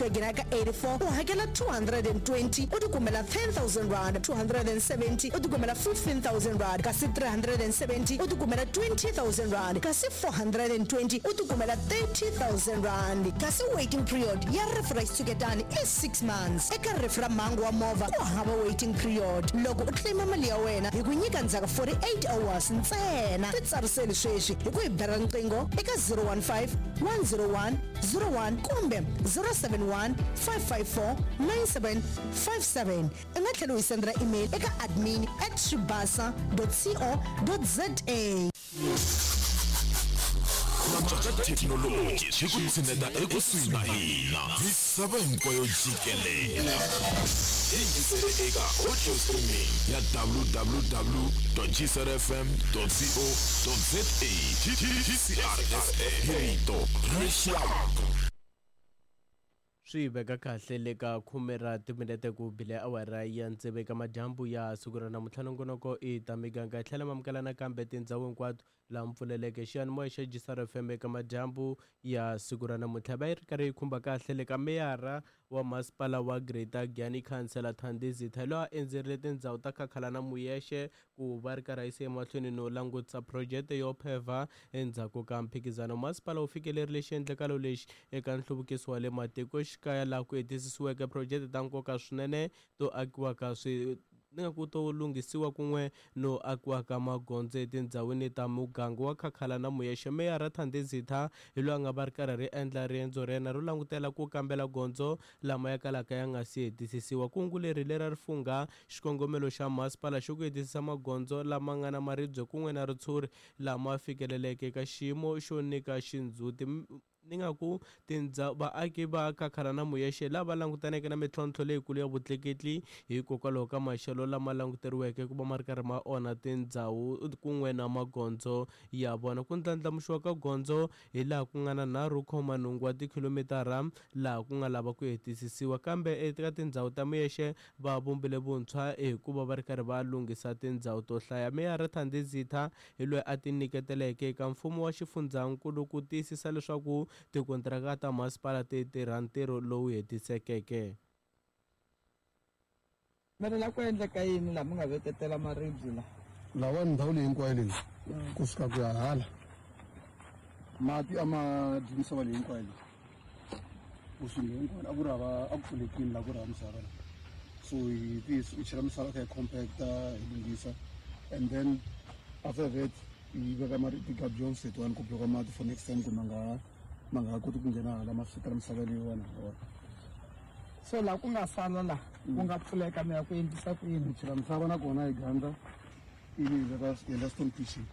Nghena ka 84 u hakela 220 u tikumela R10,000, 270 u tikumela R15,000 kasi 370 u tikumela R20,000 kasi 420 u tikumela R30,000. Kasi waiting period ya rifu ra xitshuketani i 6 months. Eka rifu ra mhangu wa movha ku hava waiting period. Loko u claim mali ya wena hi ku nyika ndzhaku 48 hours ntsena. Titsariseli sweswi hi ku hi bela riqingho eka 015 101 01 kumbe 071 554 9757. U nga tlhela u hi sendela email eka admin at swibasa co za. Ku antswa ka thekinoloji swi ku tshineta ekusuhi na hina misava hinkwayo jikelele. Yingisele eka audio streaming ya www.gcrfm.co.za. GCRFM, hi rito ra rixaka. Swi veka kahle le ka khume ra timinete ku bile awara ya tsevu eka madyambu ya siku ra namuntlha. Nongonoko i ta miganga hi tlhela mamukela nakambe tindhawu hinkwato laha mi pfuleleke xiyanimoya xa Gisaro FM eka madyambu ya siku ra namuntlha. Va yi ri karhi yi khumba kahle le ka meyara wa masipala wa Greater Giyani, Khansela Thandi Zitha, loyi a endzerile tindhawu ta Khakhala na Muyexe ku va ri karhi a yisa emahlweni no langutisa phurojete yo phevha endzhaku ka mphikizano. Masipala wu fikelerile xiendlakalo lexi eka nhluvukiso wa le matikoxikaya laha ku hetisisiweke phurojete ta nkoka swinene to akiwa ka swi ni nga ku to lunghisiwa kun'we no akiwa ka magondzo etindhawini ta muganga wa Khakhala na Muyexe. Meyara Thandi Zitha hi loyi a nga va ri karhi ri endla riendzo ra yena ro langutela ku kambela gondzo lama ya kalaka ya nga si hetisisiwa. Kungu leri lera ri fungha xikongomelo xa masipala xo ku hetisisa magondzo lama nga na maribye kun'we na ritshuri lama fikeleleke eka xiyimo xo nyika xindzhuti. Ni nga ku vaaki va Khakhala na Muyexe lava langutaneke na mintlhontlho leyikulu ya vutleketli hikokwalaho ka maxelo lama languteriweke ku va ma ri karhi ma onha tindhawu kun'we na magondzo ya vona. Ku ndlandlamuxiwa ka gondzo hi laha ku nga na 3.8 wa tikhilomitara laha ku nga lava ku hetisisiwa, kambe eka tindhawu ta Muyexe va vumbile vuntshwa hikuva va ri karhi va lunghisa tindhawu to hlaya. Meyara Thandi Zitha hi loyi a tinyiketeleke eka mfumo wa xifundzankulu ku tiyisisa leswaku tikontiraka ta masipala ti tirha ntirho lowu hetisekeke. Mi ri la ku endleka yini laha mi nga veketela maribye la? Lawa ndhawu leyi hinkwayo leyi kusuka ku ya hala mati a ma dyi misava leyi hinkwayo leyi kusuka hinkwayo a ku ri hava a ku pfulekile la ku ri hava misava la, so hi hi chela misava kha hi compacta hi lunghisa, and then after that hi veka ti-gabions letiwani ku bloka mati for next time ku ma nga koti ku nghena hala ma fikela misava leyiwani hala. So laha ku nga sala laha ku nga pfuleka mi ya ku endlisa ku yini? Hi chela misava nakona hi gandla ivi hi veka hi endla stone pitching.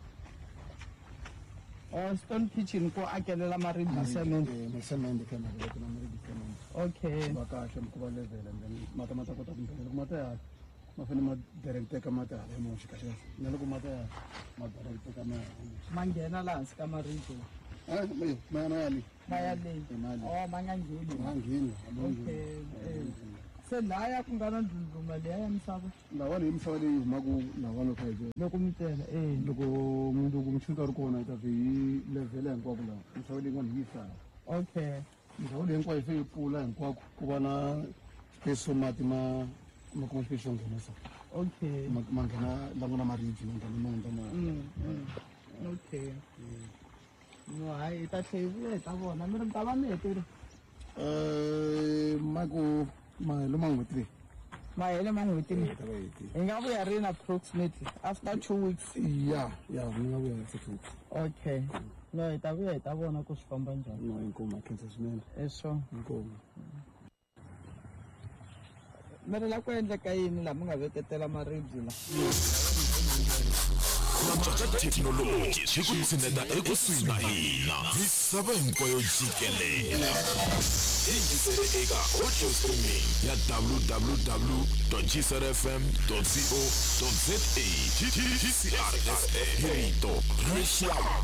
Oh, stone pitching ku akelela maribye cement. Na cement kha na veka na maribye cement. Va kahle ku va level, and then mati ma ta kota ku nghena. Loko mati ya ma fanele ma directeka mati hala emuxi kahle kahle, na loko mati ya ma directeka ma ya Ma nghena laha hansi ka maribye? Ma ya le. Ma ya le. Ma ya le. Oh, ma nga ngheni. Ma ngheni. Okay, se laya ku nga na ndlundluma liya ya misava? Lawani hi misava leyi humaka lawani kha hi Loko mi tela loko mundzuku muchini ri kona hi ta vhe hi levhela hinkwako laha misava leyi n'wana hi yi hlaya. Ndhawu leyi hinkwayo se yi pfula hinkwako ku va na space so mati ma kuma space xo nghena so ma nghena la ku na maribye ma nghena ma hundza ma Okay, no, hayi, hi ta tlhe hi vuya hi ta vona. Mi ri mi ta va mi hetile? Mako mahelo ma n'hweti leyi. Mahele ma n'hweti leyi? Ta va hetile. Hi nga vuya rini approximately? After 2 weeks? Ya, mi nga vuya after 2 weeks. Okay, no, hi ta vuya hi ta vona ku swi famba njhani. No, inkomu, a khensa swinene. Eswo. Inkomu. Mi ri la ku endleka yini laha mi nga veketela maribye la? Ku antswa ka thekinoloji swi ku tshineta ekusuhi na hina misava hinkwayo jikelele. Yingisele eka audio streaming ya www.gcrfm.co.za. GCRFM, hi rito ra rixaka.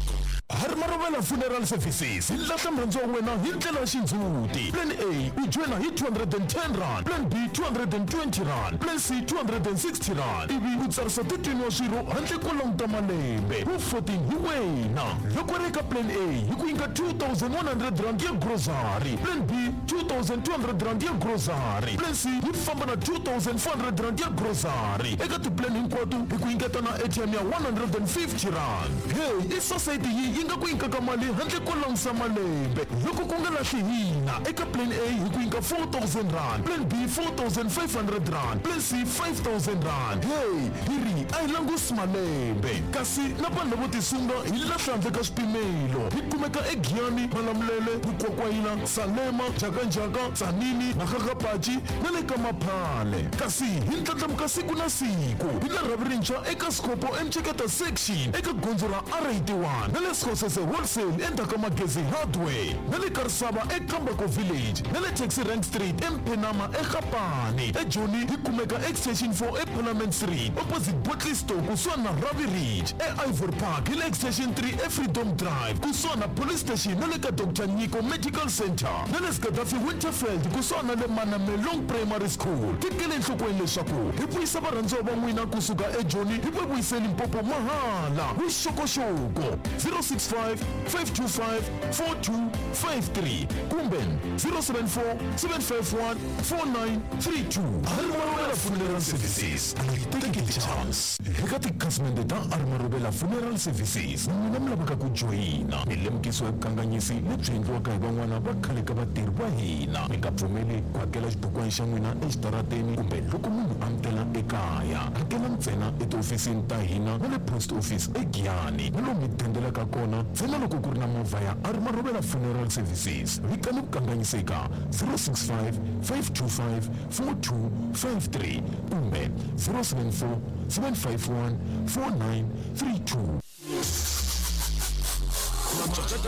Harmarovela Funeral Services hi lahla murhandzi wa wena hi ndlela ya xindzhuti. Plan A, u joyina hi R210, plan B R220, plan C R260, ivi u tsarisa 13 wa swirho handle ko languta malembe. Wu 14 hi wena. Loko ri eka plan A hi ku nyika 2100 rand ya grocery. Plan B 2200 rand ya grocery. Plan C yi famba na 2400 rand ya grocery. Eka tiplan hinkwato hi ku nyiketa na airtime ya 150 rand. Hey, i society yi yi nga ku nyikaka mali handle ko langusa malembe. Loko ku nga lahli hina eka plan A hi ku nyika 4000 rand, plan B 4500 rand, plan C 5000 rand. Hey, hi ri a hi langusi malembe. Kasi na vanhu lavo tisunga hi lahla handle ka swipimelo. Hi kumeka eGiyani, Malamulele, Mukwakwayila, Salema, Jakanjaka, Tzaneen, Makgakgapachi na le ka Maphale. Kasi hi ndlandlamuka siku na siku. Hi la rhavi rintshwa eka Scopo eMcheketa section eka gondzo ra R81 na le Sekgosese wholesale endzhaku ka Magezi Hardware na le Karisava eKambako Village na le Taxi Rank Street eMphenama eGapane. EJoni hi kumeka Extension 4 eParliament Street opposite Botley Store kusuhani na Ravi Ridge. E-Ivory Park hi le Extension 3 eFreedom Drive kusuhani na Police Station na le ka Dr Nyiko Medical Center na le Gaddafi Winterfeld kusuhani na le Manamelong Primary School. Tekele enhlokweni leswaku hi vuyisa varhandziwa va n'wina kusuka eJoni hi va vuyise Limpopo mahala. Vuxokoxoko 065 525 4253 kumbe 074 751 4932. Armarobela Funeral Services a yi teki chance. Eka tikhasimende ta Armarobela Funeral Services n'wina mi lavaka ku joyina mi lemukisiwa hi vukanganyisi lebyi endliwaka hi van'wana va khale ka vatirhi va hina. Mi nga pfumeli ku hakela xibukwana xa n'wina exitarateni kumbe loko munhu a mi tela ekaya. Hakela ntsena etihofisini ta hina na le post office eGiyani na lomu mi dendelaka kona ntsena loko ku ri na movha ya Armarobela Funeral Services. Vikani vukanganyiseka 065 525 4253 kumbe 074 751 4932.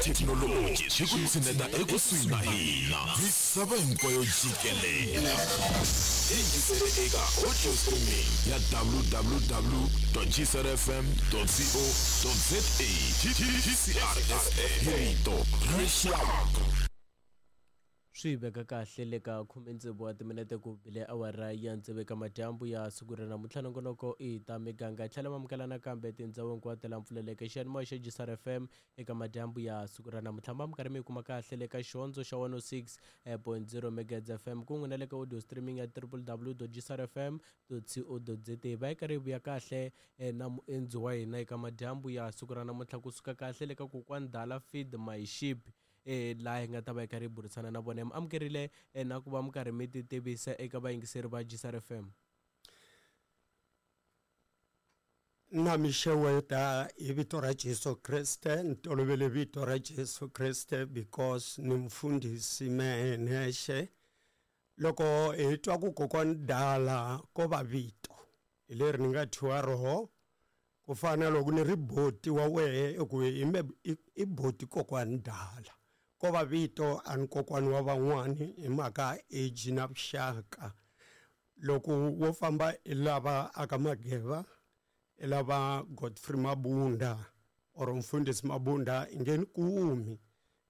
Thekinoloji swi ku tshineta ekusuhi na hina. Misava hinkwayo jikelele. Yingisele eka audio streaming ya www.gcrfm.co.za. GCRFM hi rito ra rixaka. Swi veka kahle le ka 16 wa timinete ku bile awara ya tsevu eka madyambu ya siku ra namuntlha. Nongonoko i ta miganga tlhela mamukela nakambe tindhawu hinkwato la mpfuleleke xiyanimoya xa GCR FM eka madyambu ya siku ra namuntlha. Ma mi karhi mi yi kuma kahle le ka xihondzo xa 106.0 megahertz FM kun'we na le ka audio streaming ya www.gcrfm.co.za. Va yi karhi yi vuya kahle na muendzi wa hina eka madyambu ya siku ra namuntlha kusuka kahle le ka kokwani Dala Feed My Sheep laha hi nga ta va hi karhi hi burisana na vona. Mi amukerile na ku va mi karhi mi ti tivisa eka vayingiseri va GCR FM. Na mi xeweta hi vito ra Jesu Kreste. Ni tolovele vito ra Jesu Kreste because ni mfundhisi mehe nexe. Loko hi twa ku kokwani Dala ko va vito hi leri ni nga thyiwa roho, ku fana loko ni ri boti wa wehe i ku i boti kokwani Dala. Ko va vito a ni kokwani wa van'wani hi mhaka age na vuxaka. Loko wo famba i lava aka Mageva, i lava Godfrey Mabunda or mfundhisi Mabunda i nge ni kumi,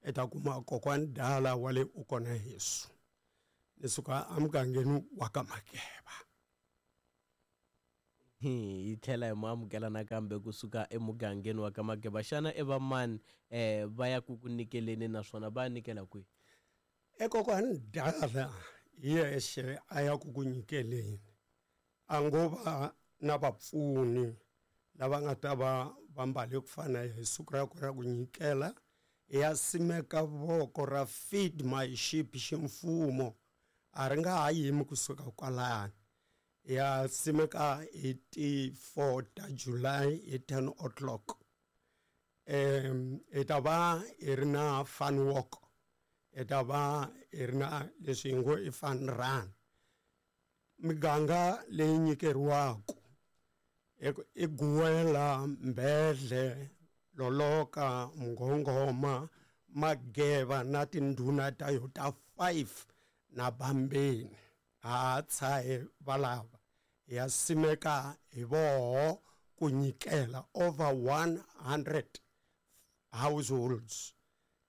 i ta kuma kokwani Dala wa le u kona Yesu. Ni suka emugangeni wa ka Mageva. Hi tlhela hi mu amukela nakambe kusuka emugangeni wa ka Mageva. Xana i va mani va ya ku ku nyikeleni naswona va ya nyikela kwihi? Ekokwani Dala yexe a ya ku ku nyikeleni, a ngo va na vapfuni lava nga ta va va mbale ku fana hi siku ra ku ra ku nyikela. Ya simeka voko ra Feed My Sheep ximfumo, a ri nga ha yimi kusuka kwalani. Ya simeka hi ti 4 ta July hi 10 o'clock. Hi ta va hi ri na fun walk, hi ta va hi ri na leswi hi ngo i fun run. Miganga leyi nyikeriwaka i Guwela, Mbedle, Loloka, Mngongoma, Mageva na tindhuna ta yo ta 5 na Bambeni. Ha tshahe valava ya simeka hi voho ku nyikela over 100 households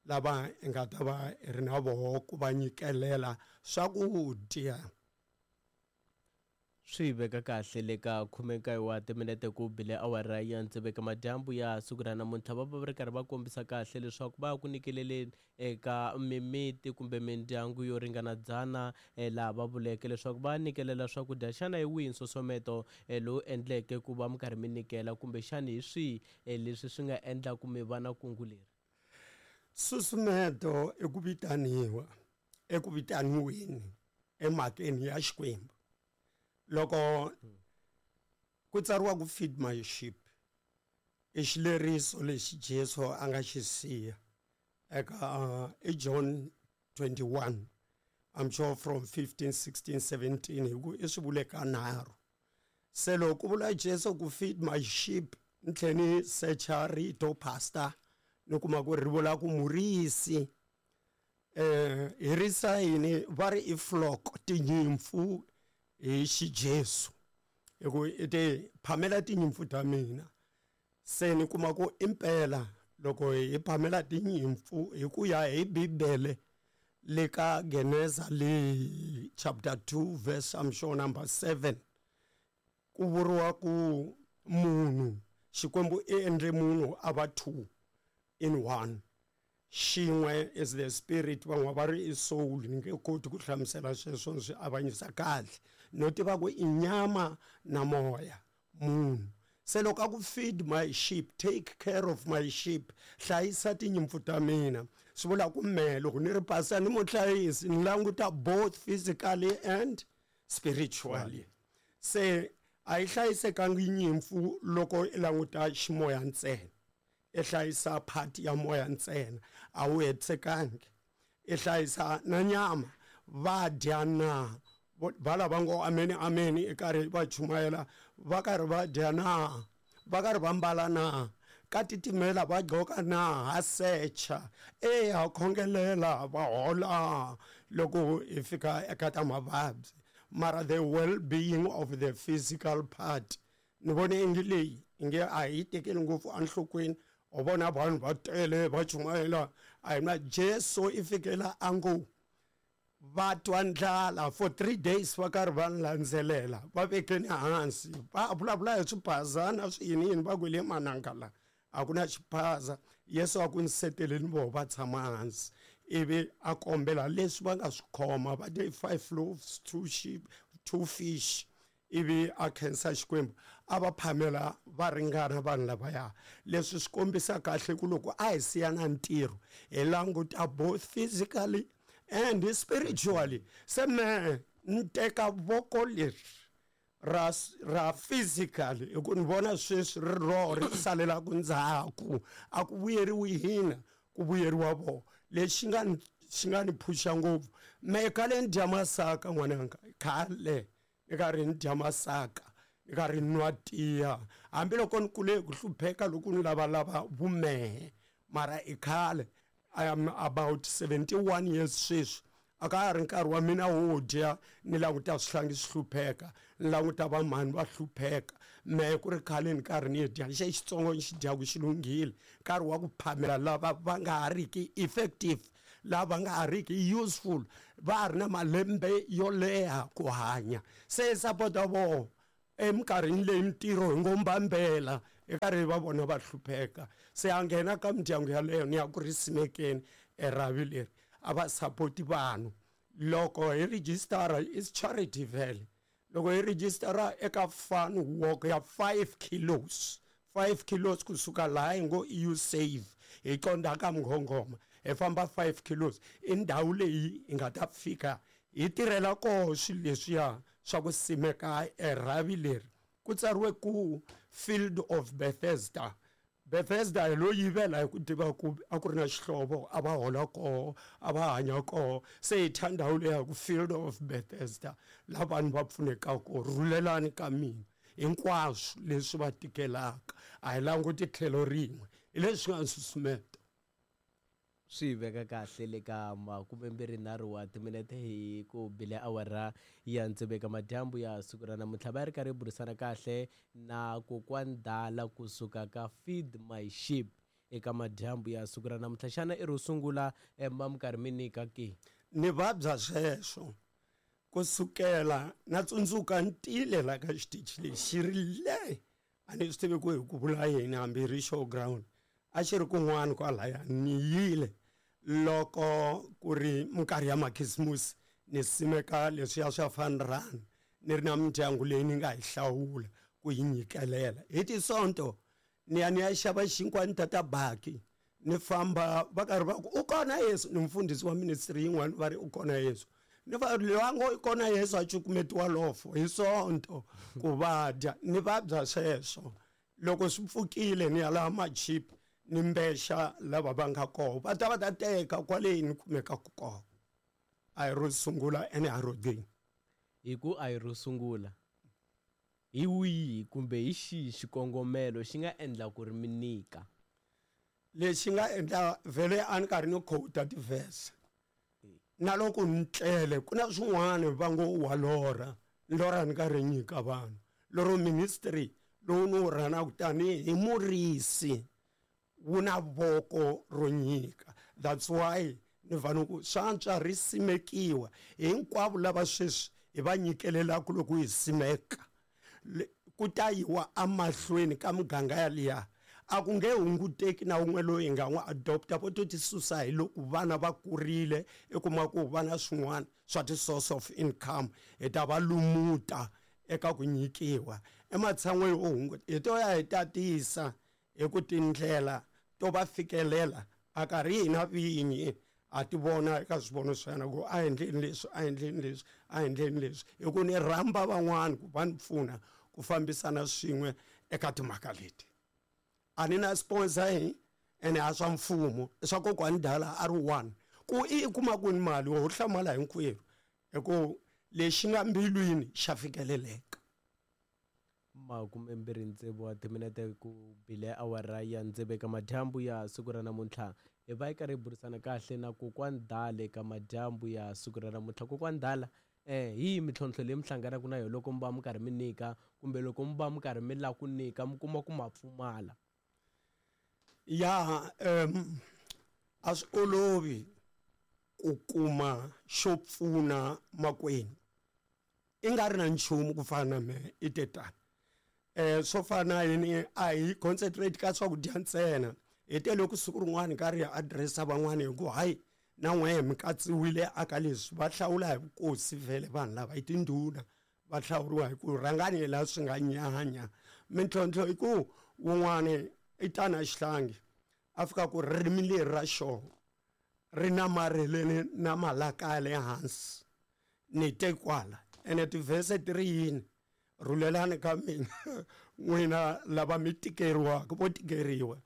lava hi nga ta va hi ri na voho ku va nyikelela swakudya. Swi veka kahle le ka 19 wa timinete ku bile awara ya tsevu eka madyambu ya siku ra namuntlha. Va va va ri karhi va kombisa kahle leswaku va ya ku nyikeleleni eka mimiti kumbe mindyangu yo ringana 100 laha va vuleke leswaku va nyikelela swakudya. Xana hi wihi nsusumeto lowu endleke ku va mi karhi mi nyikela kumbexana hi swihi leswi swi nga endlaku mi va na kungu leri? Nsusumeto i ku vitaniwa eku vitaniweni emhakeni ya Xikwembu. Loko ku tsariwa ku feed my sheep i xileriso lexi Jesu a nga xi siya eka i John 21, I'm sure from 15, 16, 17, hi ku i swi vule ka nharhu. Se loko ku vula Jesu ku feed my sheep, ni tlhe ni secha rito pastor, ni kuma ku ri vula ku murisi. Hi risa yini? Va ri i flock, tinyimpfu hi xijesu, hi ku i te phamela tinyimpfu ta mina. Se ni kuma ku impela loko hi phamela tinyimpfu hi ku ya hi Bibele le ka Geneza le chapter 2 verse I'm sure number 7, ku vuriwa ku munhu Xikwembu i endle munhu a va 2 in 1. Xin'we is the spirit, van'we va ri i soul, ni nge koti ku hlamusela sweswo ni swi avanyisa kahle, no tiva ku i nyama na moya munhu. Se loko a ku feed my sheep, take care of my sheep, hlayisa tinyimpfu ta mina, swi vula ku mehe loko ni ri pastor ni muhlayisi, ni languta both physically and spiritually. Se a yi hlayisekangi nyimpfu loko i languta ximoya ntsena, i hlayisa part ya moya ntsena, a wu hetisekangi. I hlayisa na nyama, va dya na va lava ngo ameni ameni i karhi va chumayela, va karhi va dya na, va karhi va mbala na, ka titimela va gqoka na, ha secha, e ha khongelela va hola loko hi fika eka ta mavabyi. Mara the well-being of the physical part, ni vone ingi leyi inge a hi tekeli ngopfu enhlokweni. U vona vanhu va tele va chumayela, a hi na Jesu i fikela a ngo va twa ndlala for 3 days va karhi va landzelela, va vekeni hansi va vulavula hi swiphazana swi yini yini, va ku le mananga la a ku na xiphaza. Yesu a ku ni seteleni voho va tshama hansi, ivi a kombela leswi va nga swi khoma, va te 5 loaves, 2 sheep, 2 fish, ivi a khensa Xikwembu a va phamela va ringana vanhu lavaya. Leswi swi kombisa kahle ku loko a hi siya na ntirho hi languta both physically and spiritually. Se mehe ni teka voko leri ra physically, hi ku ni vona sweswi ri roho ri salelaku ndzhaku, a ku vuyeriwi hina, ku vuyeriwa voho. Lexi xi nga ni phusha ngopfu mehe khale ni dya masaka n'wananga, khale ni karhi ni dya masaka, ni karhi ni nwa tiya, hambiloko ni kule hi ku hlupheka loko ni lavalava vumehe, mara i khale. I am about 71 years sweswi, a ka ha ri nkarhi wa mina wo dya ni languta swihlangi swi hlupheka, ni languta vamhani va hlupheka. Mehe ku ri khale ni karhi ni dya xe xitsongo ni xi dyaku xi lunghile, nkarhi wa ku phamela lava va nga ha riki effective, lava nga ha riki useful, va ha ri na malembe yo leha ku hanya. Se hi sapota voho eminkarhini leyi mintirho hi ngo mbambela, hi karhi va vona va hlupheka. Se a nghena ka mindyangu yaleyo ni ya ku ri simekeni erhavi leri a va sapoti vanhu. Loko hi registara is charity vhele, loko hi registara eka fun walk ya 5 kilos, 5 kilos kusuka laha hi ngo i you save hi qonda ka Mngongoma, hi famba 5 kilos, i ndhawu leyi hi nga ta fika hi tirhela koho swilo leswiya swa ku simeka erhavi leri. Ku tsariwe ku Field of Bethesda. Bethesda hi lo yivela hi ku tiva ku a ku ri na xihlovo, a va hola koho, a va hanya koho. Se hi thya ndhawu leya ku Field of Bethesda, laha vanhu va pfunekaka koho. Rhulelani ka mina hinkwaswo leswi va tikelaka, a hi languti tlhelo rin'we, hi leswi nga nsusumeto. Swi veka kahle le ka 23 wa timinete hi ku bile awara ya tsevu eka madyambu ya siku ra namuntlha. Va ri karhi burisana kahle na kokwani Dala kusuka ka Feed My Sheep eka madyambu ya siku ra namuntlha. Xana i ro sungula ma mi karhi mi nyika ke? Ni vabya sweswo. Kusukela na tsundzuka ntile la ka xitichi lexi xi ri le, a ni swi tivi ku hi ku vula yini, hambi ri showground a xi ri kun'wana kwalaya. Ni yile loko ku ri minkarhi ya makhisimusi, ni simeka leswiya swa fun run, ni ri na mindyangu leyi ni nga yi hlawula ku yi nyikelela. Hi tisonto ni ya ni ya xava xinkwa, ni tata baki, ni famba, va karhi va ku u kona Yesu. Ni mfundhisi wa ministry yin'wana, va ri u kona Yesu, ni va loyi a ngo i kona Yesu a cukumetiwa lofo hi sonto ku va dya. Ni vabya sweswo loko swi pfukile, ni ya laha machip, ni mbexa lava va nga koho, va ta va ta teka kwale ni kumekaka kona. A hi ro sungula ene a ro gcina. Hi ku a hi ro sungula, hi wihi kumbe hi xihi xikongomelo xi nga endla ku ri mi nyika? Lexi nga endla vhele, a ni karhi ni quota ti-verse na loko ni tlele, ku na swin'wana va ngo wa lorha, ni lorha ni karhi nyika vanhu. Loro ministry lowu ni wu rhanaka tanihi murisi wu na voko ro nyika. That's why ni vana ku swantswa ri simekiwa hinkwavo lava sweswi hi va nyikelelaka. Loko hi simeka, ku ta yiwa emahlweni ka muganga yaliya, a ku nge hunguteki na wun'we loyi hi nga n'wi adopta. Vo to ti susa hi loko vana va kurile, i kuma ku va na swin'wana swa ti-source of income, hi ta va lumuta eka ku nyikiwa. Ematshan'weni yo hunguta, hi to ya hi tatisa hi ku tindlela to va fikelela a karhi hina vinyi a ti vona eka swivono swa yena ku a endleni leswi, a endleni leswi, a endleni leswi, hi ku ni rhamba van'wani ku va ni pfuna ku fambisana swin'we eka timhaka leti. A ni na sponsor hi ene, a swa mfumo, i swa kokwani dala a ri one ku i kuma kwini mali, wo hlamala hinkwerhu, hi ku lexi nga mbilwini xa fikeleleka. 26 wa timinete ku bile awara ya 6 ka madyambu ya siku ra namuntlha. Hi va hi karhi hi burisana kahle na kokwani Dale ka madyambu ya siku ra namuntlha. Kokwani Dala, hi yihi mintlhontlho leyi mi hlanganaka na yona loko mi va mi karhi mi nyika, kumbe loko mi va mi karhi mi lava ku nyika, mi kuma ku ma pfumala? Ya, a swi olovi ku kuma xo pfuna makwenu i nga ri na nchumu. Ku fana na mehe, i te tani, swo fana na yini, a hi concentrate ka swakudya ntsena. Hi te loko siku rin'wana karhi hi addressa van'wani hi ku hayi, na n'wehe mi katsiwile aka leswi. Va hlawula hi vukosi vhele vanhu lava hi tindhuna, va hlawuriwa hi ku rhangani hi laha swi nga nyanya. Mintlhontlho i ku wun'wani i tana xihlangi, a fika ku ririmi leri ra xona ri namarheleni na malaka ya le hansi. Ni te kwala ene tivhese ti ri yini? Rhulelani ka mina n'wina lava mi tikeriwaka, vo tikeriwa.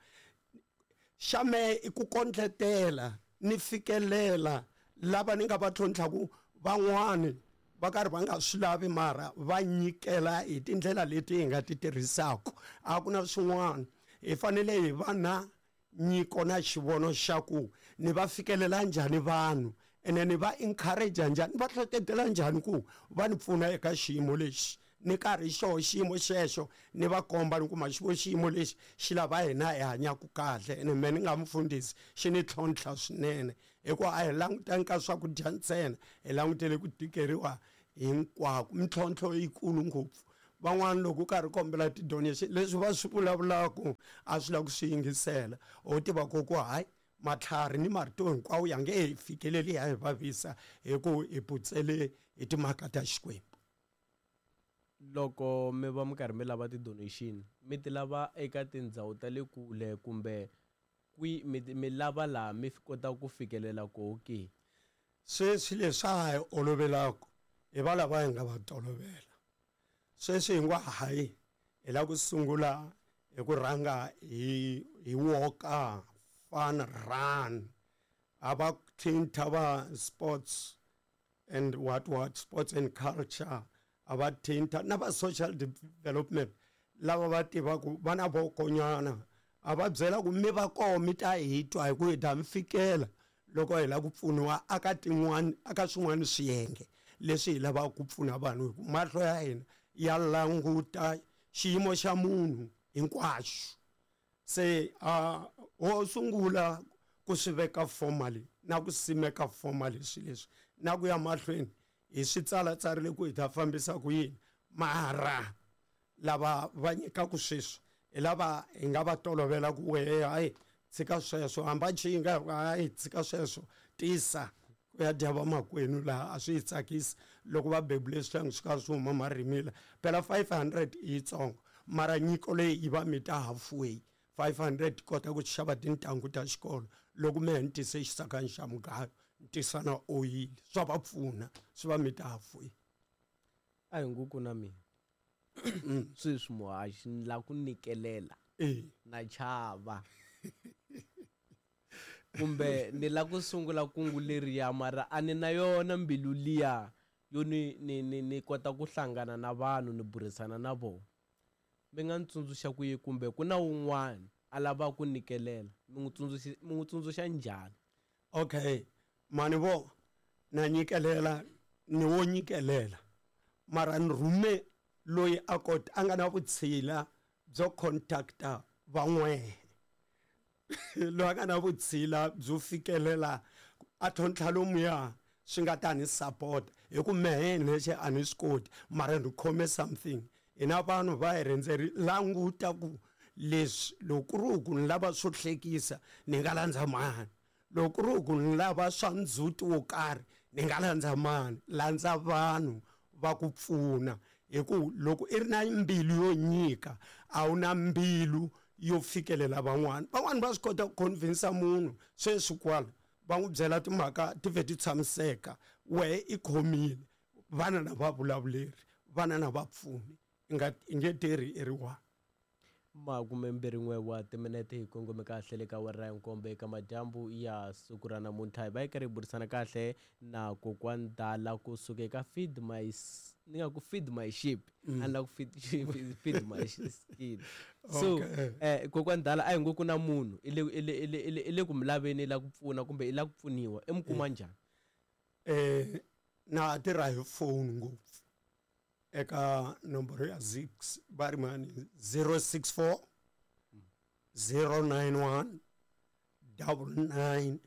Xa mehe i ku kondletela ni fikelela lava ni nga va tlhontlhaku. Van'wani va karhi va nga swi lavi, mara va nyikela hi tindlela leti hi nga ti tirhisaka. A ku na swin'wana, hi fanele hi va na nyiko na xivono xa ku ni va fikelela njhani vanhu, ene ni va encourage njhani, ni va hlohletela njhani ku va ni pfuna eka xiyimo lexi ni karhi xoho xiyimo xexo. Ni va komba ni kuma xivo xiyimo lexi xi lava hina hi hanyaka kahle. Ene me ni nga mufundhisi, xi ni tlhontlha swinene, hikuva a hi langutangi ka swakudya ntsena, hi langutele ku tikeriwa hinkwako. Mintlhontlho yikulu ngopfu. Van'wana loko u karhi kombela ti-donation, leswi va swi vulavulaka a swi lava ku swi yingisela. Ho tiva ku ku hayi, matlhari ni marito hinkwawo ya nge hi fikeleli, ya hi vavisa, hi ku hi putsele hi timhaka ta Xikwembu. Loko mi va mi karhi mi lava ti-donation, mi ti lava eka tindhawu ta le kule, kumbe kwi mi lava laha mi kotaka ku fikelela koho ke? Sweswi leswi a hi olovelaka hi va lava hi nga va tolovela. Sweswi hi ngo hayi, hi lava ku sungula hi ku rhanga hi walker fun run, a va thinta va sports and what sports and culture, a va thinta na va social development, lava va tivaka va na vokonyana, a va byela ku mi va koho, mi ta hi twa, hi ku hi ta mi fikela loko hi lava ku pfuniwa aka tin'wani, aka swin'wana swiyenge leswi hi lavaka ku pfuna vanhu, hi ku mahlo ya hina ya languta xiyimo xa munhu hinkwaxo. Se a ho sungula ku swi veka formally na ku simeka formally swilo leswi na ku ya mahlweni. Hi swi tsalatsarile ku hi ta fambisa ku yini, mara lava va nyikaku sweswi hi lava hi nga va tolovela ku wehe, hayi tshika sweswo, hamba chinga, hayi tshika sweswo, tisa ku ya dya vamakwenu laha. A swi yi tsakisi loko va bebule swihlangi swi kha swi huma marimila. Phela 500 i yitsongo, mara nyiko leyi yi va mita halfway. 500 kota ku xava tintangu ta xikolo, loko mehe ni tise xisakani xa mugayo, ni tisa na oyili, swa va pfuna, swi va mita halfway. A hi nguku na mina sweswi muhaxi ni la ku nyikelela, na chava kumbe ni la ku sungula kungu leriya, mara a ni na yona mbilu liya yo ni kota ku hlangana na vanhu ni burisana na vona. Mi nga ni tsundzuxa ku yi kumbe ku na wun'wana a lava ku nyikelela, mi n'wi tsundzuxa njhani? Okay, mani vo na nyikelela, ni wo nyikelela, mara ni rhume loyi a kota a nga na vutshila byo contacta van'wehe, loyi a nga na vutshila byo fikelela a tlhontlha lomuya swi nga ta ni support, hi ku mehe nexe a ni swi koti, mara ni khome something. Hina vanhu va hi rhendzeri languta ku leswi loko ku ri ku ni lava swo hlekisa ni nga landza mani, loko ku ri ku ni lava swa ndzhuti wo karhi ni nga landza mani. Landza vanhu va ku pfuna, hi ku loko i ri na mbilu yo nyika, a wu na mbilu yo fikelela van'wana. Van'wana va swi kota ku convince munhu sweswi kwala, va n'wi byela timhaka ti vhe ti tshamiseka, wehe i khomile vana na va vulavuleri, vana na vapfuni, i nga i nge tirhi i ri one. 21 wa timinete hi kongome kahle le ka awara ya nkombo eka madyambu ya siku ra namuntlha. Hi va hi karhi hi burisana kahle na kokwani Dala kusuka eka Feed My, ni nga ku Feed My Sheep, a ni la ku feed my skin. So kokwani Dala, a hi ngo ku na munhu i le ku mi laveni, i la ku pfuna kumbe i la ku pfuniwa, i mi kuma njhani? Na tirha hi phone ngopfu, eka nomboro ya 6 va ri mani, 064 091 99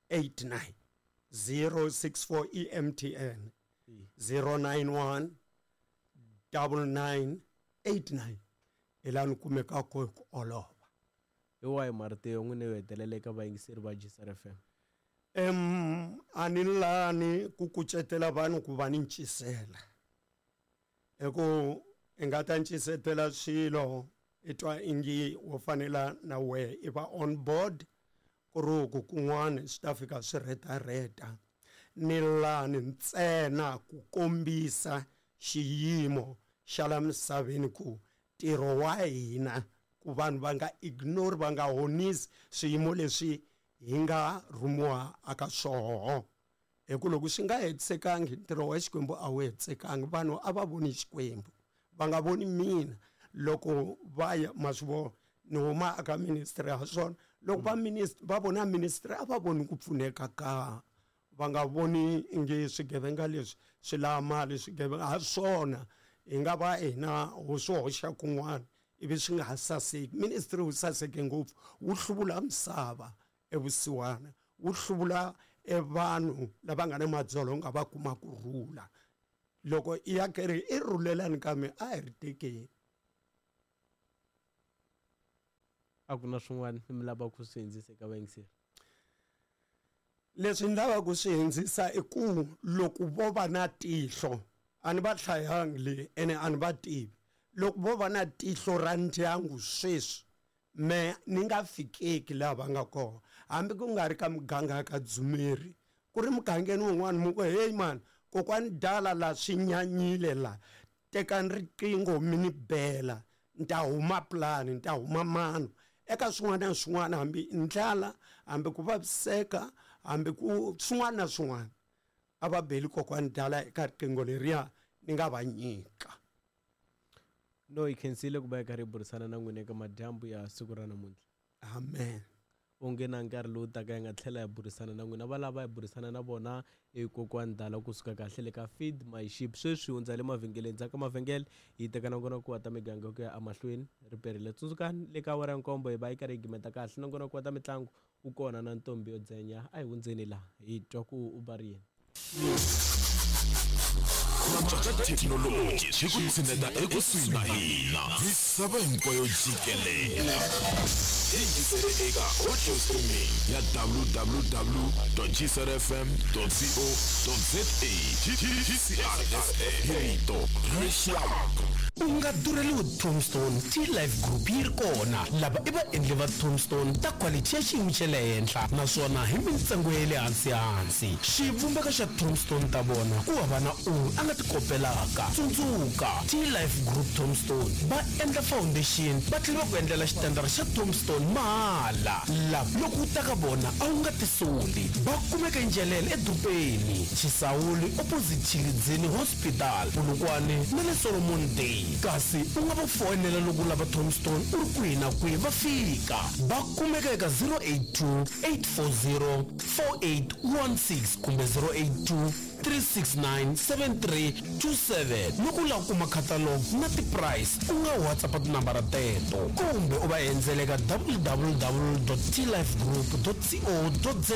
89. 064, EMTN, 091 99 89, hi laha ni kumekaka hi ku olova. Hi wahi marito ya n'wina yo hetelela eka vayingiseri va Gsr FM? A ni lani ku kucetela vanhu ku va ni ncisela, hi ku i nga ta ncisetela swilo i twa ingi wo fanela na wehe i va on board, ku ri ku kun'wana swi ta fika swi rhetarheta. Ni lani ntsena ku kombisa xiyimo xa la misaveni, ku ntirho wa hina ku vanhu va nga ignore, va nga honisi swiyimo leswi hi nga rhumiwa aka swoho, hi ku loko swi nga hetisekangi, ntirho wa Xikwembu a wu hetisekangi. Vanhu a va voni Xikwembu, va nga voni mina. Loko va ya ma swi vona ni huma aka ministry ha swona, loko va va vona ministry, a va voni ku pfuneka ka, va nga voni ingi swigevenga leswi swi lava mali. Swigevenga ha swona hi nga va hina ho swi hoxa kun'wana ivi swi nga ha saseki. Ministry wu saseke ngopfu, wu hluvula misava evusiwana, wu hluvula evanhu lava nga na madzolonga, va kuma ku rhula. Loko i ya kereke i rhulelani, kambe a hi ri tekeni. A ku na swin'wana mi lava ku swi hundzisa eka vayingiseri? Leswi ni lavaka ku swi hundzisa i ku loko vo va na tihlo, a ni va hlayangi le ene a ni va tivi, loko vo va na tihlo ra ndyangu sweswi me ni nga fikeki laha va nga kona, hambi ku nga ri ka muganga ka Dzumeri, ku ri mugangeni wun'wana, mu ku heyi mani, kokwani Dala la swi nyanyile la, tekani riqingho mi ni bela, ni ta huma pulani, ni ta huma mano eka swin'wana na swin'wana, hambi i ndlala, hambi ku vaviseka, hambi ku swin'wana na swin'wana, a va beli kokwani Dala eka riqingho leriya ni nga va nyika. No, hi khensile ku va hi karhi hi burisana na n'wina eka madyambu ya siku ra namuntlha. Amen. Onge na nkarhi lowu taka hi nga tlhela hi burisana na n'wina. Va lava hi burisana na vona i kokwani Dala kusuka kahle le ka Feed My Sheep. Sweswi hundza le mavhengeleni, ndzhaku ka mavhengele hi teka nongonoko wa ta miganga ku ya emahlweni. Ri perile, tsundzukani le ka awara ya nkombo hi va yi karhi hi gimeta kahle nongonoko wa ta mitlangu, wu kona na ntombi yo dzenya. A hi hundzeni laha hi twa ku u va ri yini. Ku cinca ka thekinoloji swi ku tshineta ekusuhi na hina misava hinkwayo jikelele. Yingisele eka audio streaming ya www.gcrfm.co.za GCRFM hi rito ra rixaka. U nga durheliwi Tombstone T-Life Group yi ri kona. Lava i vaendli va Tombstone ta quality ya xiyimo xa le henhla naswona hi mintsengo ya le hansi-hansi. Xivumbeko xa Tombstone ta vona ku hava na un'we a nga ti kopelaka. Tsundzuka, T-Life Group Tombstone va endla foundation va tlhela va ku endlela xitandara xa Tombstone mahala. Lava loko u ta ka vona a wu nga tisoli. Va kumeka eNjelele edorobeni, Chisawuli opposite Tshilidzini Hospital, Polokwane na le Solomon Day. Kasi u nga va foyinela loko u lava Tombstone u ri kwihi na kwihi va fika. Va kumeka eka 082 840 4816 kumbe 082 369 7327. Loko u lava ku kuma catalog na ti-price u nga WhatsApp tinambara teto kumbe u va endzela eka www.tlifegroup.co.za.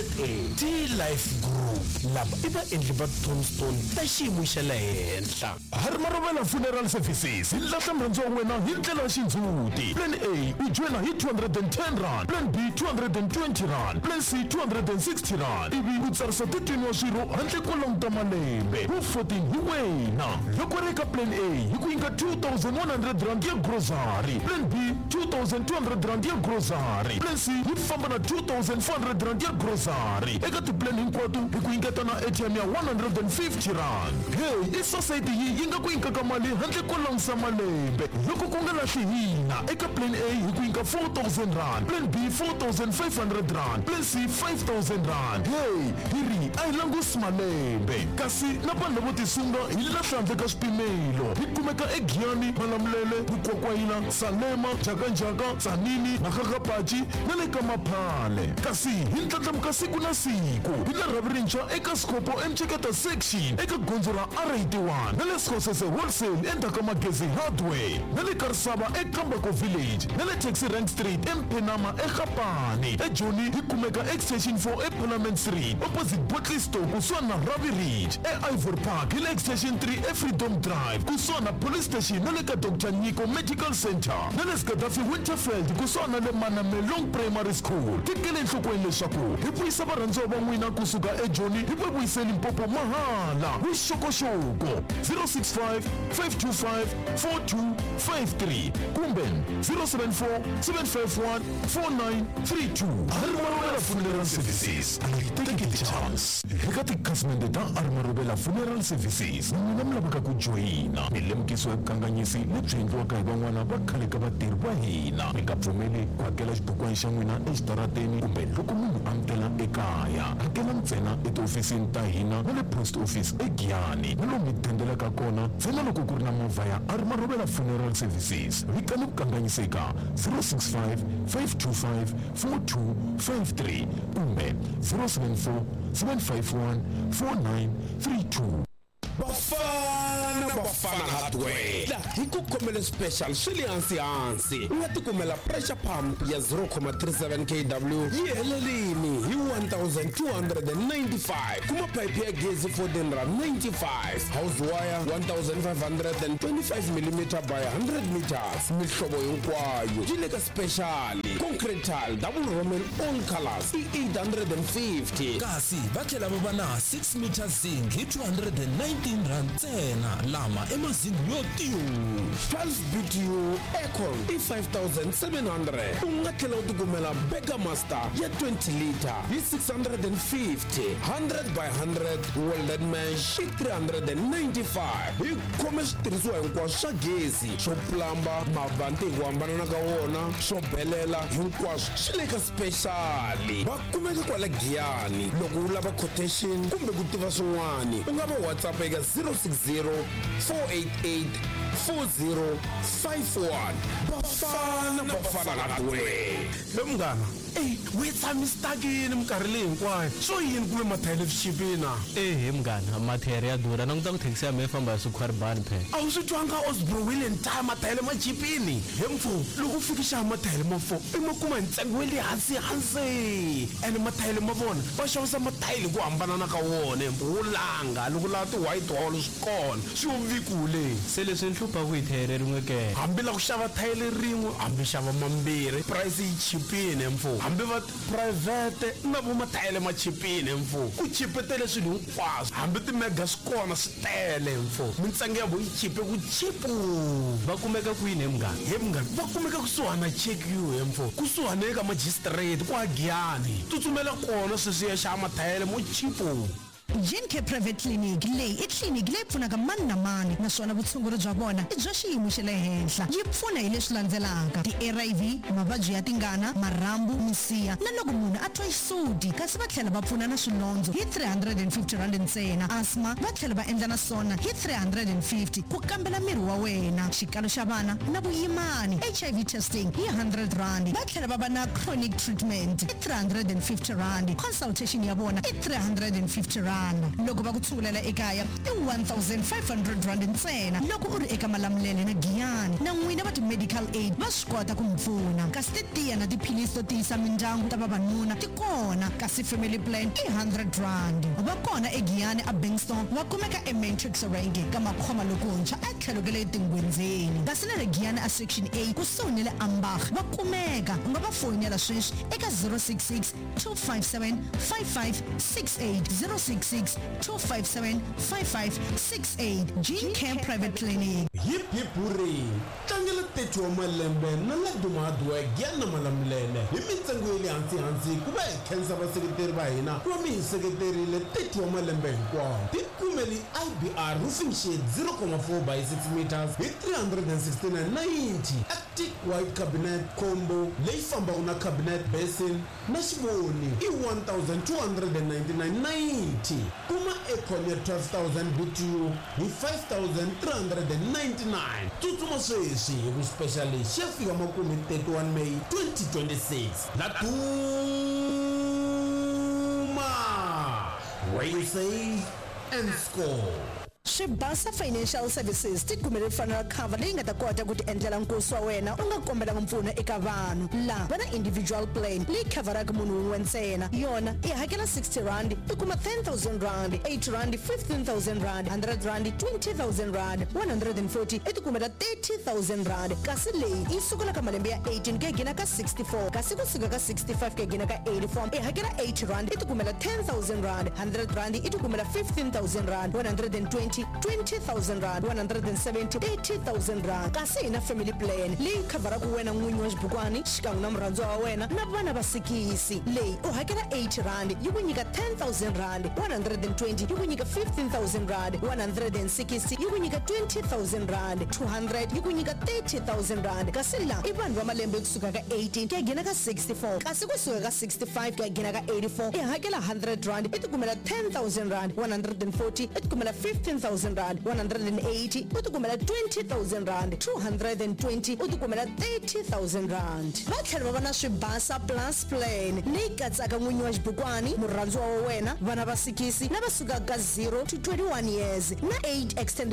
T-Life Group, lava i vaendli va Tombstone ta xiyimo xa le henhla. Harimarovela Funeral Services yi lahla murhandziwa wa wena hi ndlela ya xindzhuti. Plan A u joyina hi 210 rand, Plan B 220 rand, Plan C 260 rand ivi u tsarisa 13 wa swirho handle ko languta malembe. Wu 14 hi wena. Loko ri eka Plan A hi ku nyika 2100 rand ya grocery, Plan B 2200 rand ya grocery, Plan C yi famba na 2400 rand ya grocery. Eka tiplan hinkwato hi ku nyiketa na airtime ya 150 rand. Hey, i society yi yi nga ku nyikaka mali handle ko langusa malembe. Loko ku nga lahli hina, eka Plan A hi ku nyika 4000 rand, Plan B 4500 rand, Plan C 5000 rand. Hey, hi ri a hi langusi malembe. Kasi na vanhu lavo tisunga hi lahla handle ka swipimelo. Hi kumeka eGiyani, Malamulele, Mukwakwayila, Salema, Njhakanjhaka, Tzaneen, Makgakgapachi na le ka Maphale. Kasi hi ndlandlamuka siku na siku. Hi na rhavi rintshwa eka Skhopho eMceketa Section eka gondzo ra R81 na le Skhosese Wholesale endzhaku ka Magezi Hardware na le Karisava eKambako Village na le Taxi Rank Street eMphenama eGapane. EJoni hi kumeka Extension 4 eParliament Street opposite Bottle Store kusuhani na Ravi Ridge. E-Ivory Park hi le Extension 3 eFreedom Drive kusuhani na Police Station na le ka Dr Nyiko Medical Center na le Gaddafi Winterfeld kusuhani na le Manamelong Primary School. Tekela enhlokweni leswaku hi vuyisa varhandziwa va n'wina kusuka eJoni hi va vuyise Limpopo mahala. Vuxokoxoko 065 525 4253 kumbe 074 751 4932. Harimarovela Funeral Services, a yi teki ti-chance. Eka tikhasimende ta Harimarovela Funeral Services, n'wina mi lavaka ku joyina mi lemukisiwa hi vukanganyisi lebyi endliwaka hi van'wana va khale ka vatirhi va hina. Mi nga pfumeli ku hakela xibukwana xa n'wina exitarateni kumbe loko munhu a mi tela ekaya. Hakela ntsena etihofisini ta hina na le post office eGiyani na lomu mi dendelaka kona ntsena loko ku ri na movha ya Harimarovela Funeral Services. Vikani vukanganyisi eka 065 525 4253 kumbe 074 751 4932. Bafana Bafana Hardware la hi ku khomele special swi le hansi hansi. U nga tikumela pressure pump ya 0.37 kW yi helelini hi 1295, kuma pipe ya gezi 14 rand 95, house wire 1525 mm by 100 meters, mihlovo hinkwayo yi le ka special, concrete tile double roman all colors i 850. Kasi va tlhela va va na 6 meter zinc hi 219 rand ntsena, lama i mazingi yo tiyu. 12 BTU aircon i 5700. U nga tlhela u tikumela Burger Master ya 20 liter hi 650, 100 by 100 welded mesh i 395. Hi khome switirhisiwa hinkwaswo swa gezi, swo plamba, mavanti hi ku hambanana ka wona, swo belela, hinkwaswo swi le ka special. Va kumeka kwala Giyani. Loko u lava quotation kumbe ku tiva swin'wana u nga va WhatsApp eka 060 488 4051. Bafana Bafana Hardware. He munghana, ey we tshami stakini minkarhi. Minkarhi leyi hinkwayo swo yini ku ve mathayele swi chipile na? Ehe munghana, mathayere ya durha. Languta ku thekisi ya mehe yi famba hi swikhwaribani phela. A wu swi twanga Osbro Wheel and Tyre mathayele ma chipini? He mfo, loko u fika xava mathayele ma 4 i ma kuma hi ntsengo wa le hansi hansi. Ene mathayele ma vona va xavisa mathayele hi ku hambanana ka wona he mfo, wo langa loko u lava ti white wall swi kona, swi yo vikule. Se leswi ni hluphaku hi thayere rin'we ke? Hambi la ku xava thayele rin'we hambi xava mambirhi price yi chipini he mfo, hambi va Phurayivhete na vo mathayele ma chipile mfo. Ku chipetele swilo hinkwaswo. Hambi ti-mega swi kona swi tele mfo. Mintsengo ya vo yi chipe ku chipu. Va kumeka kwini he munghana? He munghana, va kumeka kusuhani na Check You he mfo. Kusuhani eka majisitireti kwa Giyani. Tsutsumela kona sweswi ya xava mathayele mo chipu. Gencare Private Clinic, Leyi i tliliniki leyi pfunaka mani na mani naswona vutshunguri bya vona i bya xiyimo xa le henhla. Yi pfuna hi leswi landzelaka, ti-ARV, mavabyi ya tingana, marhambu, misiha na loko munhu a twa xisuti. Kasi va tlhela va pfuna na swilondzo hi R350 ntsena, asthma va tlhela va endla na swona hi R350, ku kambela miri wa wena, xikalo xa vana na vuyimani, HIV testing hi R100. Va tlhela va va na chronic treatment i R350, consultation ya vona i R350. Loko va ku tshungulela ekaya i R1500 ntsena loko u ri eka Malamulele na Giyani. Na n'wina va ti-medical aid va swi kota ku mi pfuna. Kasi titiya na tiphilisi to tiyisa mindyangu ta vavanuna ti kona, kasi family plan i R100. Va kona eGiyani aBingston, va kumeka eMatrix Rank ka Makhoma lokuntshwa etlhelo ka le Tingwenzeni. Kasi na le Giyani a Section A kusuhi ni le Ambach va kumeka. U nga va foyinela sweswi eka 066 257 5568, 066 257 5568. Gene Care Private Clinic. Hip hip hurray! Tlangela 30 wa malembe na Laduma Hardware Giyani na Malamulele hi mintsengo ya le hansi hansi ku va hi khensa vaseketeri va hina ku va mi hi seketerile 30 wa malembe hinkwawo. Tikumeli IBR roofing sheet 0,4 by 6 meters hi 369.90, Arctic White Cabinet Combo leyi fambaka na cabinet basin na xivoni i 1299.90. Kuma aircon ya 12000 BTU hi 5399. Tsutsuma sweswi hi ku special lexi xi ya fika makumu hi 31 May 2026. La Duma! Where you save and score. Swibasa Financial Services ti kumele funeral cover leyi nga ta kota ku ti endlela nkosi wa wena u nga kombelanga mpfuno eka vanhu. La va na individual plan leyi khavharaka munhu wun'we ntsena. Yona i hakela R60 i kuma R10,000, R80 R15,000, R100 R20,000, R140 i ti kumela R30,000. Kasi leyi yi sukela ka malembe ya 18 ku ya gina ka 64 kasi ku suka ka 65 ku ya gina ka 84 i hakela R80 i ti kumela R10,000, R100 i ti kumela R15,000, R120 R20,000, R170 R30,000. Kasi hi na family plan leyi khavharaka wena n'winyi wa xibukwani xikan'we na murhandziwa wa wena na vana va sikisi. Leyi u hakela R80 yi ku nyika R10,000, R120 yi ku nyika R15,000, R160 yi ku nyika R20,000, R200 yi ku nyika R30,000. Kasi la i vanhu va malembe kusuka ka 18 ku ya gina ka 64, kasi kusuka ka 65 ku ya gina ka 84 i hakela R100 i tikumela R10,000, R140 i tikumela R15,000, R180 u tikumela R20,000, R220 u tikumela R30,000. Va tlhela va va na Swibasa Plus Plan leyi katsaka n'winyi wa xibukwani, murhandziwa wa wena, vana va sikisi lava sukaka ka 0 to 21 years na 8 extended.